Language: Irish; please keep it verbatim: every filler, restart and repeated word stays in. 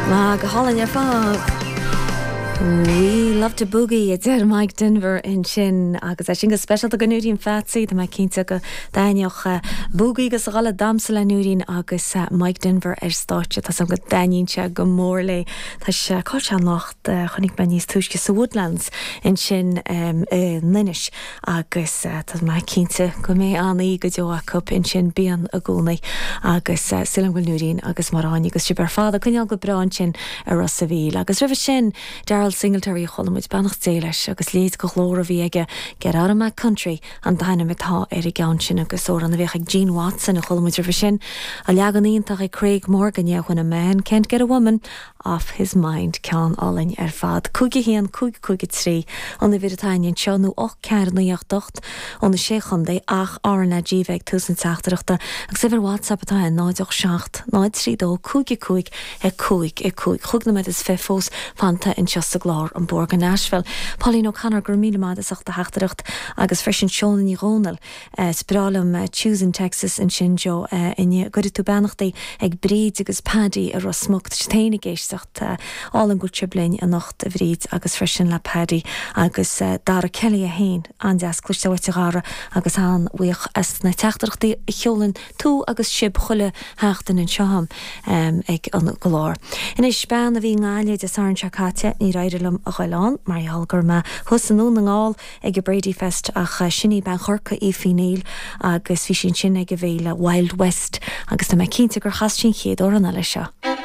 Má go hálainn ar fad. We love to boogie a deir Mike Denver ansin agus é sin go speisialta do Núirín Phatsy Tá mé cinnte go dtaitneodh boogie agus a dhul ag damhsa le Núirín agus Mike Denver ar stáitse Tá go dtaitníonn sé go mór léi Tá sé cáil anocht chonaic mé níos túisce sa Woodlands ansin um, in Inis agus uh, tá mé cinnte go mbeidh an-oíche go deo acu ansin bíonn i gcónaí agus uh, sílim go Núirín agus Maráin agus sibh ar fad a coinneáil go breá ansin ar Ros a' Mhíl agus roimhe sin Daryle Singletary chuala muid beannacht Dé leis agus léid go glór a bhí aige Get out of my country an t-ainm atá ar an gceann sin agus amhrán a bhíodh ag Gene Watson a chuala muid roimhe sin a leagan iontach ag Craig Morgan when a man can't get a woman off his mind ceann álainn ar fad. Cúig a haon cúig cúig a trí an uimhir atá anseo nó ocht ceathair naoi ocht ocht ó na sé chontae ach RnaG ag tús an teachtaireachta agus uimhir WhatsApp atá in náid seacht náid trí dó cúig cúig a cúig a cúig cúig nóiméad is fiche fós fanta anseo sa gclár an Bóthar go Nashville. Pauline O'Connor gur míle maith as ucht do theachtaireacht agus freisin Seán Ní Dhomhnaill is breá liom Choosing Texas ansin Jo inne go tú beannachtaí ag Bríd agus Paddy a Rosmucht téine géistecht álan go bliin anocht a Bhríd agus freisin le Paddy agus Dara Kelly a hain an-deas cloisteáil uait a Dhara agus an-bhuíoch as na teachtaireachtaí a sheolann tú agus sibh chuile sheachtain anseo um, ag an gclár. Anois bean a bhí i nGaillimh Dé Sathairn seo caite ní raibh liom a ghoil mar gheall gur mé thuas i nDún na nGall ag a Brady Fest ach sin í bean Chorcaí Aoife Neal agus bhí sin sin ag a bhféile Wild West agus tá mé cinnte gur chas sin chéad amhrán eile seo.